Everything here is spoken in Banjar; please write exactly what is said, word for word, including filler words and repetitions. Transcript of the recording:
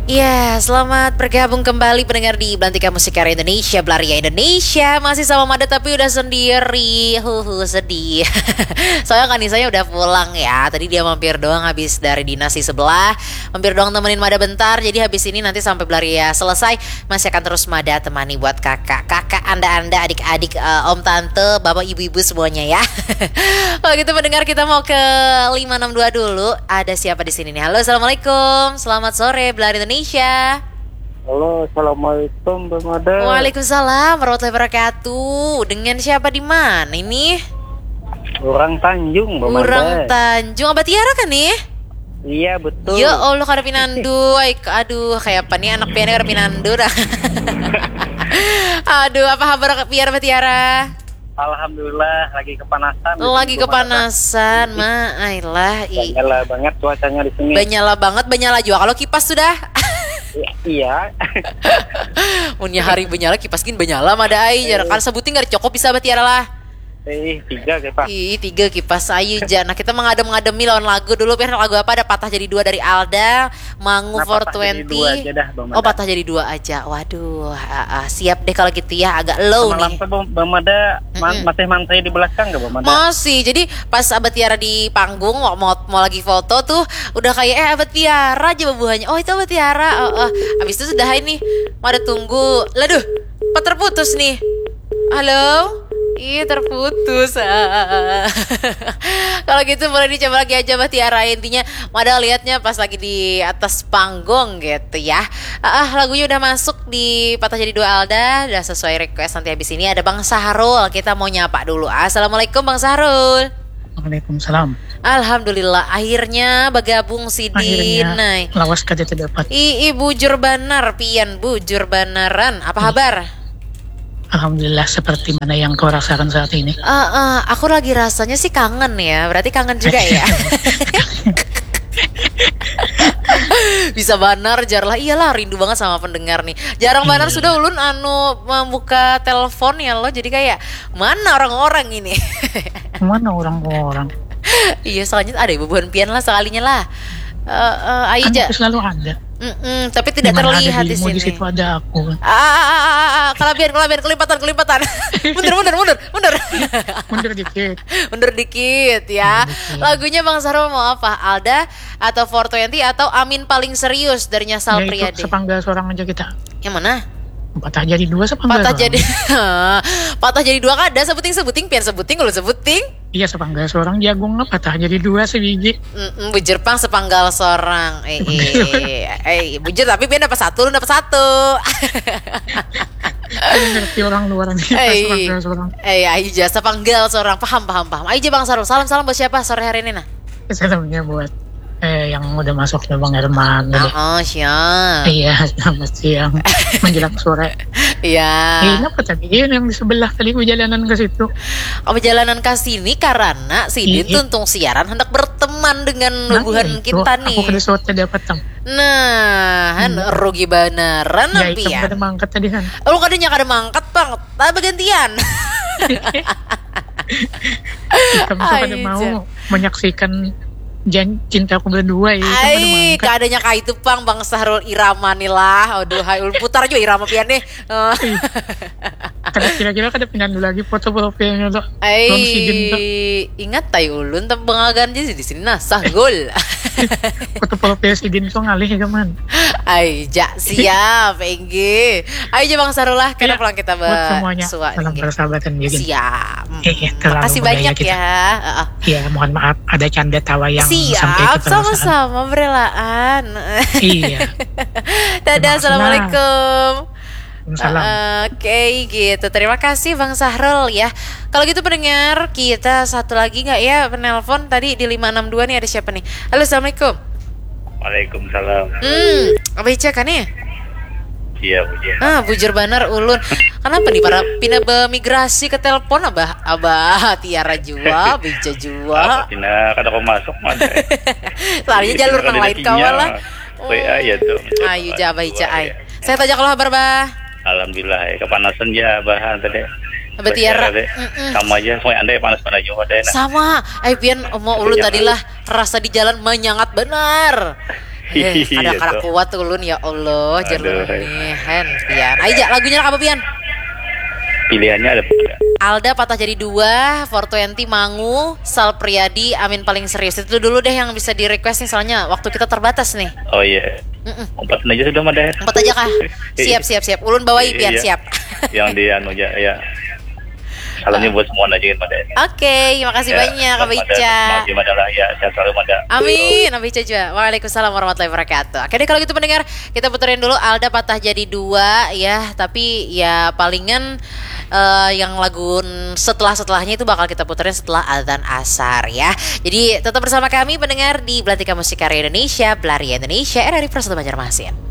Ya, selamat bergabung kembali pendengar di Belantika Musik Karya Indonesia, Belaria Indonesia. Masih sama Mada tapi udah sendiri. Huhu, sedih. Soalnya Kanisanya udah pulang ya. Tadi dia mampir doang habis dari dinas di sebelah. Mampir doang temenin Mada bentar. Jadi habis ini nanti sampai Belaria selesai, masih akan terus Mada temani buat kakak. Kakak anda-anda, adik-adik, eh, om tante, bapak ibu-ibu semuanya ya. Kalau gitu pendengar, kita mau ke lima enam dua dulu. Ada siapa di sini nih? Halo, assalamualaikum. Selamat sore, Belaria Indonesia. Halo, assalamualaikum, Bang Mada. Waalaikumsalam warahmatullahi wabarakatuh. Dengan siapa di mana ini? Orang Tanjung, Bang Orang Mada. Tanjung, Abah Tiara kan nih? Iya, betul. Ya Allah, kada pinandu. Ay, aduh, kayak apa nih anak pian kada pinandu dah. Aduh, apa kabar pian, Abah Tiara? Alhamdulillah, lagi kepanasan di Lagi sini, Bang Mada. Kepanasan, ma, ailah, i. Banyala banget cuacanya di sini. Banyala banget, banyala juga kalau kipas sudah. Iya. Munnya hari banyala, kipas gin banyala, Mada ai. Jar, eh, kan sebuting kada cukup bisa, Abah Tiara lah. Eh, tiga kipas. Ih, tiga kipas ayu ja. Nah, kita mengadem-ngademi lawan lagu dulu. Pian, lagu apa? Ada Patah Jadi Dua dari Alda, Mangu Nah, four twenty. Patah Jadi Dua aja dah, Bang Mada. Oh, Patah Jadi Dua aja. Waduh, ah, ah, siap deh kalau gitu ya, agak low. Semalam nih. Tuh, Bang, Bang Mada ma-, Mm-mm. Masih mantri di belakang gak, Bang Mada? Masih. Jadi pas Abah Tiara di panggung, mau, mau, mau lagi foto tuh, udah kayak, "Eh, Abah Tiara," aja bubuhannya. "Oh, itu Abah Tiara." Oh, oh. Habis itu sudah ini, Mada tunggu. Laduh, apa terputus nih? Halo? Iya, terputus. Ah. Kalau gitu boleh dicoba lagi aja, Bah Tiara. Intinya, Mada liatnya pas lagi di atas panggung gitu ya. Ah, ah, lagunya udah masuk di Patah Jadi Dua Alda, udah sesuai request. Nanti habis ini ada Bang Sahrul. Kita mau nyapa dulu. Assalamualaikum, Bang Sahrul. Waalaikumsalam. Alhamdulillah, akhirnya bergabung sidin. Akhirnya, lawas kada terdapat. Ii, bujur banar, pian bujur banaran. Apa kabar? Alhamdulillah, seperti mana yang kau rasakan saat ini? Eh, eh, aku lagi rasanya sih kangen ya. Berarti kangen juga ya? Bisa banar, jar lah. Iyalah, rindu banget sama pendengar nih. Jarang banar sudah ulun anu membuka telepon ya lo. Jadi kayak, "Mana orang-orang ini?" Mana orang-orang? Iya, soalnya ada bubuhan pian lah sekalinya lah. Eh, eh, ayo ja. Kan selalu ada. Mm-mm, tapi tidak terlihat di sini. Di situ ada aku. Ah, ah, ah, ah, ah, kalabihan, kalabihan, kelimpatan, kelimpatan. Mundur, mundur, mundur, mundur. Mundur dikit. Mundur dikit ya. Mundur dikit. Lagunya Bang Sahrul mau apa? Alda atau four twenty atau Amin Paling Serius dari Nyasal Priadi? Ya, itu sepanggal seorang aja kita. Yang mana? Patah Jadi Dua sepanggal seorang. Patah Jadi. Patah Jadi Dua kada, sebuting-sebuting, pian sebuting, ulun sebuting. Iya, sepanggal seorang jagung lah, patah jadi dua sebiji. Mm-mm, bujur pang, sepanggal seorang. Eh, eh, eh, bujur, tapi pian dapat satu, ulun dapat satu. Kan ngerti orang luar nih, eh, sepanggal seorang. Eh, ayo ja, sepanggal seorang. Paham, paham, paham. Ayo ja, Bang Sahrul. Salam, salam buat siapa sore hari ini, nah? Salamnya buat, eh, yang udah masuk nih, Bang Herman tadi. Oh, oh, siap. Iya, selamat siang. Menjelang sore. Iya. Eh, kenapa tadi? Iya, yang di sebelah tadi perjalanan ke situ. Oh, perjalanan ke sini karena sidin tuntung siaran hendak berteman dengan bubuhan kita nih. Nah, itu. Aku kada suat tadi apa, Tang? Nah, han, rugi banaran pian. Ya, ikam kada mangkat tadi, han. Oh, kadanya kada mangkat, pang. Tapi bagantian. Ikam tuh kada mau menyaksikan jan-, cintaku berdua ya, ikam kada mangkat. Ai, kadanya kaitu pang, Bang Sahrul, irama nih lah. Aduh, hai, ulun putar jua irama pian nih. Eh. Kada, kira-kira kada pinandu lagi foto profilnya tuh. Ai, ingat tai ulun, tapi bangagan aja di sini nah, Sahrul. Foto profil sidin tuh ngalih, kaman. Ai, ja, siap, inggih. Ayo ja, Bang Sahrul lah, kada pulang kita buat semuanya. Salam persahabatan juga. Siap. Iya, terlalu. Makasih banyak ya. Heeh. Ya, mohon maaf, ada canda tawa yang sampai ke perasaan. Siap, sama-sama, berelaan. Iya. Dadah, assalamualaikum. Waalaikumsalam. Oke, gitu. Terima kasih, Bang Sahrul, ya. Kalau gitu, pendengar, kita satu lagi nggak ya, penelpon tadi di lima enam dua nih, ada siapa nih? Halo, assalamualaikum. Waalaikumsalam. Hmm, Abah Ica kan nih? Iya, bujur. Ah, bujur banar ulun. Kenapa nih para pina bemigrasi ke telepon, Abah? Abah Tiara jua, Abah Ica jua. Apa pina kada kau masuk, Mas? Soalnya jalur nang lain kawa lah. W A ya tuh. Ayo ja, Abah Ica ai. Sehat aja kalau kabar, Bah? Alhamdulillah, ya, kepanasan ya, Bah, tadi. Abah Tiara. Sama aja, semua anda panas pada juga deh. Nah. Sama, ai pian, mau ulun tadi lah, rasa di jalan menyengat benar. Eh, kada kada kuat ulun ya Allah, jar ulun nih. Hen, pian. Ayo, lagunya apa pian? Pilihannya ada berapa? Alda patah jadi dua, four twenty Mangu, Sal Priadi, Amin paling serius. Itu dulu deh yang bisa di request nih, soalnya waktu kita terbatas nih. Oh iya. Empat aja sudah mah deh. Empat aja kah? Siap siap siap. Ulun bawa pian, siap. Yang di anu aja ya. Salamnya buat semua aja mah deh. Oke, makasih banyak Kak Ica. Makasih mada lah ya, sehat selalu mada. Amin, Abah Ica juga. Waalaikumsalam warahmatullahi wabarakatuh. Oke deh, kalau gitu pendengar, kita puterin dulu Alda patah jadi dua ya, tapi ya palingan eh, yang lagu setelah-setelahnya itu bakal kita puterin setelah azan asar ya. Jadi tetap bersama kami pendengar di Belantika Musik Karya Indonesia, Belaria Indonesia, R R I Pro satu Banjarmasin.